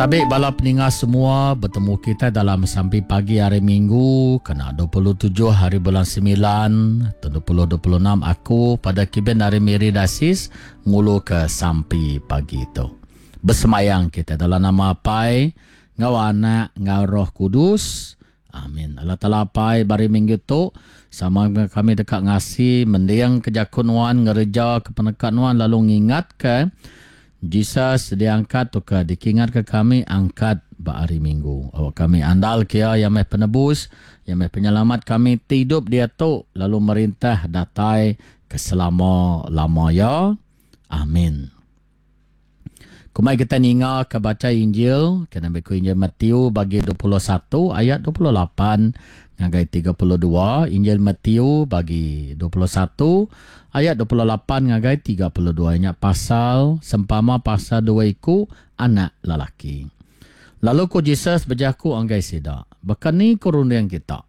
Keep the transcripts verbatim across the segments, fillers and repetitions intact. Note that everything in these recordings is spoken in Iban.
Tabi bala peninga semua, betemu kita dalam sampi pagi hari Minggu kena dua puluh tujuh hari bulan sembilan tahun dua ribu dua puluh enam. Aku pada Kiben hari Miri Dasis ngulu ke sampi pagi tu. Bersemayang kita dalam nama Apai, ngau Anak, ngau Roh Kudus. Amin. Allah Taala Apai, bari minggu tu sama kami dekat ngasi mendiang ke jakun nuan, ngereja ke penekat nuan, lalu ngingat ke Jesus diangkat tu ke dikingat ke kami angkat ba hari Minggu. Awak kami andal kia yang meh penebus, yang meh penyelamat kami tidup dia tu lalu merintah datai ke selama-lama ya. Amin. Kumai kita ninga ke baca Injil, kena beku Injil Matthew bagi dua puluh satu ayat dua puluh lapan ngagai tiga puluh dua, Injil Matthew bagi dua puluh satu ayat dua puluh lapan ngagai tiga puluh dua nya pasal sempama pasal dua iku anak lelaki. Lalu ku Jesus berjaku anggai sida, bekeni ku runding kita.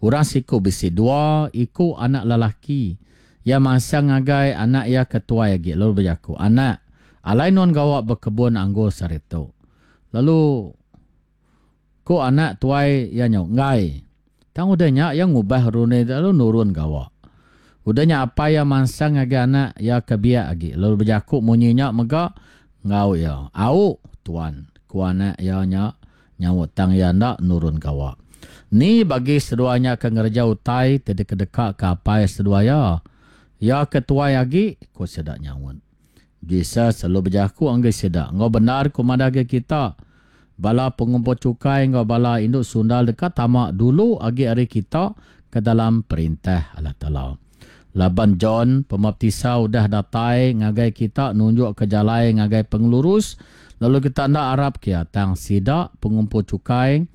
Orang siku bisi dua iku anak lelaki. Ia masang ngagai anak ia ketuai agi lalu berjaku, anak, alai nuan gawak berkebun anggur saritu. Lalu ku anak tuai ia nyau ngai. Tang udahnya ia ngubah runding lalu nurun gawak. Udahnya apa ia mansang ngagai anak ia ke biak agi lalu berjaku munyinya mega ngau ia. Au tuan, ku anak ia nya nyaut tang ia ndak nurun gawak. Ni bagi seduanya ke ngereja utai ti deka ke apai seduaya. Ia ke tuai agi ku sedak nyaut. Jesus selalu berjaku anggai sedak. Ngau benar ku madah ke kita. Bala pengumpul cukai ngau bala induk sundal dekat tamak dulu agi hari kita ke dalam perintah Allah Taala. Laban John pembaptisa udah datai ngagai kita nunjuk ke jalai ngagai pengelurus, lalu kita ndak arap kia tang sidak pengumpul cukai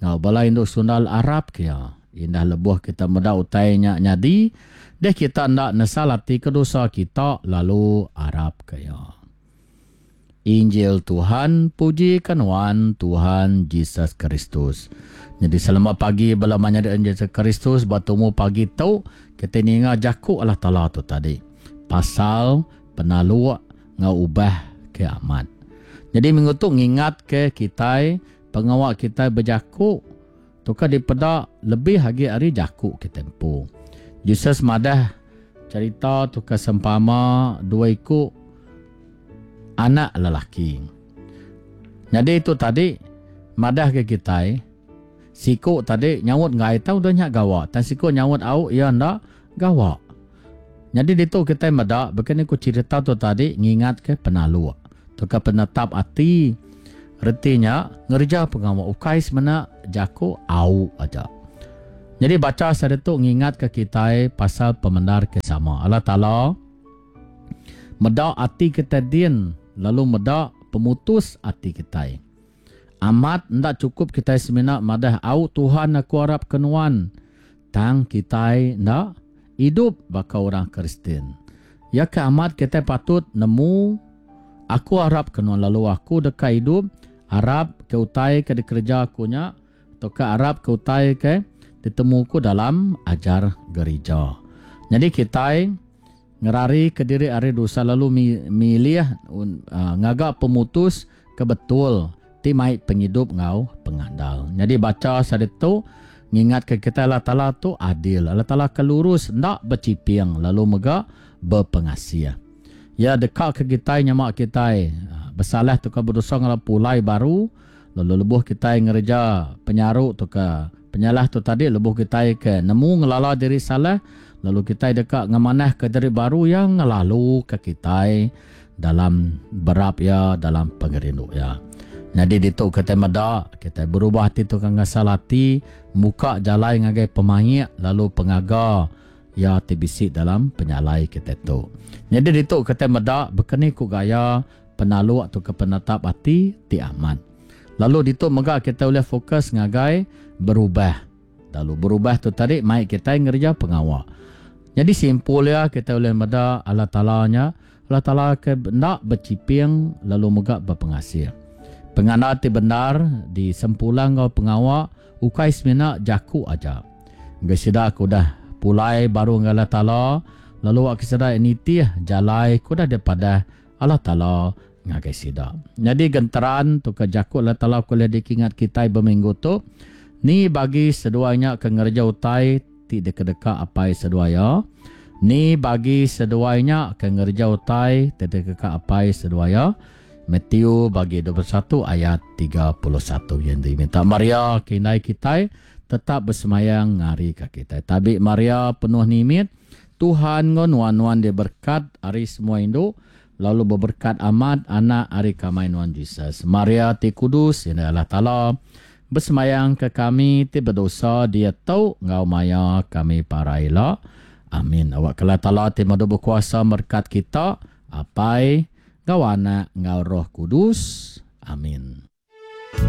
ngau bala induk sundal arap kia. Indah lebuh kita meda utai nya nyadi, deh kita ndak nesal hati ke dosa kita lalu arap ke ya. Injil Tuhan, puji kenuan Tuhan Jesus Kristus. Jadi selamat pagi bala menyadi Jesus Kristus, bertemu pagi tu kita ninga jaku Allah Taala tu tadi. Pasal penaluk ngau ubah ke amat. Jadi minggu tu ngingat ke kita pengawak kita berjaku tu ka dipeda lebih agi hari jaku ke tempo. Jesus madah cerita tu ka sempama dua iku anak lelaki. Jadi itu tadi madah ke kita siku tadi nyaut ngai tau dah nyak gawak, tan siku nyaut au ia ndak gawak. Jadi ditu kita medak bekeni ku cerita tu tadi ngingat ke penaluk tu ke penetap ati. Retinya ngerja pengawa ukai semena jaku au aja. Jadi baca sare tu ngingat ke kita pasal pemendar ke sama. Allah Taala medak ati kita din lalu medak pemutus ati kita. Amat ndak cukup kita semena madah au Tuhan aku arap kenuan. Tang kita ndak hidup baka orang Kristian. Ya ke amat kita patut nemu aku arap kenuan lalu aku dekat hidup arap ke utai ke dikerja aku nya atau ke arap ke utai ke ditemu ku dalam ajar gereja. Jadi kita ngerari ke diri ari dosa lalu milih uh, ngagak pemutus ke betul ti mai penghidup ngau pengandal. Jadi baca sare tu ngingat ke kita Allah Taala tu adil, Allah Taala kelurus ndak berciping lalu mega berpengasih. Ya dekat ke kita nyamak kita bersalah tu ke berdosa ngala pulai baru lalu lebuh kita ngereja penyaruk tu ke penyalah tu tadi lebuh kita ke nemu ngelala diri salah lalu kita dekat ngemanah ke diri baru yang ngelalu ke kita dalam berap ya dalam pengerindu ya. Jadi ditu kita medak kita berubah hati tu kan ngasal hati muka jalai ngagai pemaik lalu pengaga ya tibisi dalam penyalai kita tu. Jadi ditu kita medak bekeni ku gaya penaluk atau ke penetap hati ti amat. Lalu ditu mega kita boleh fokus ngagai berubah. Lalu berubah tu tadi mai kita ngerja pengawak. Jadi simpul ya kita boleh meda Allah Taala nya, Allah Taala ke nak berciping lalu mega berpengasih. Pengandal ti benar di sempulang ngau pengawak ukai semina jaku aja. Gesida aku dah pulai baru dengan Allah Taala lalu aku sedar nitih jalai ku dah daripada Allah Taala ngagai sida. Nyadi genteran tu ke jaku Allah Taala ke ulih dikingat kitai beminggu tu, Ni bagi seduai nya ke ngereja utai ti dikedeka apai seduai iya? Ni bagi seduai nya ke ngereja utai ti dikedeka apai seduai iya? Matthew bagi dua puluh satu ayat tiga puluh satu. Yang diminta Maria ke indai kitai tetap bersemayang ngari ka kitai. Tabi Maria penuh nimit, Tuhan enggau nuan, nuan diberkat ari semua indu, lalu beberkat amat anak ari kamai nuan Jesus. Maria ti kudus, indai Allah Taala, bersemayang ke kami ti berdosa dia tau ngau maya kami para ila. Amin. Awak ke Allah Taala ti madu berkuasa berkat kita, Apai, ngau Anak, ngau Roh Kudus. Amin.